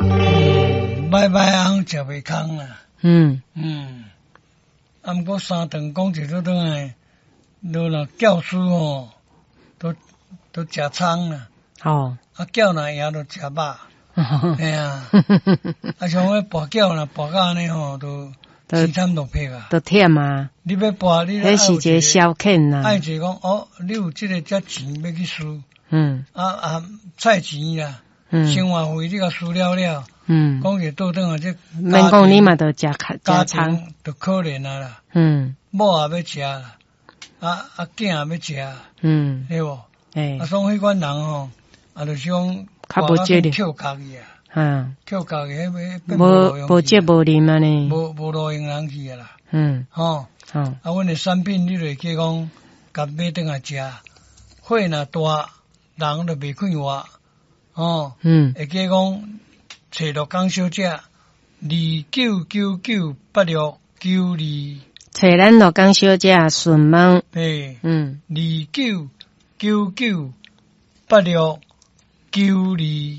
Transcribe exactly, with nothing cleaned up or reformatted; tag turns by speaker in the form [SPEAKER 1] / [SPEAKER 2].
[SPEAKER 1] 䆀䆀翁食袂空啦。
[SPEAKER 2] 嗯。
[SPEAKER 1] 嗯。啊，毋過三頓講一倒轉來，都若教師吼，都都食蔥啦。
[SPEAKER 2] 哦。
[SPEAKER 1] 啊，轎若贏就食肉。嘿啊。啊，像彼跋轎若跋甲按呢吼，都淒慘落魄啊。
[SPEAKER 2] 都忝啊。
[SPEAKER 1] 你欲跋，你
[SPEAKER 2] 彼是一个消遣啦。
[SPEAKER 1] 愛一個講哦，你有這个遮錢欲去輸。
[SPEAKER 2] 嗯。
[SPEAKER 1] 啊啊，菜錢啦，生活費你共輸了了。
[SPEAKER 2] 嗯。
[SPEAKER 1] 講起倒轉來這，
[SPEAKER 2] 免講你嘛，著食食蔥，
[SPEAKER 1] 就可憐啊啦。
[SPEAKER 2] 嗯。
[SPEAKER 1] 某也欲食啦，啊啊囝也欲食。
[SPEAKER 2] 嗯。
[SPEAKER 1] 對無？
[SPEAKER 2] 欸。
[SPEAKER 1] 啊，所以彼款人吼，啊，就是講
[SPEAKER 2] 較無節
[SPEAKER 1] 扣家己啊。
[SPEAKER 2] 嗯。
[SPEAKER 1] 扣家己，彼
[SPEAKER 2] 無無節無禮按呢。
[SPEAKER 1] 無無路用人去啊啦。
[SPEAKER 2] 嗯。
[SPEAKER 1] 吼。
[SPEAKER 2] 吼。
[SPEAKER 1] 啊，阮的產品你就會記講，共買轉來食，火若大，人就袂快活。吼。
[SPEAKER 2] 嗯。
[SPEAKER 1] 會記講，揣鹿港小姐，二九九九八六九二。
[SPEAKER 2] 揣咱鹿港小姐順問。
[SPEAKER 1] 對。
[SPEAKER 2] 嗯。
[SPEAKER 1] 二九九九八六九二。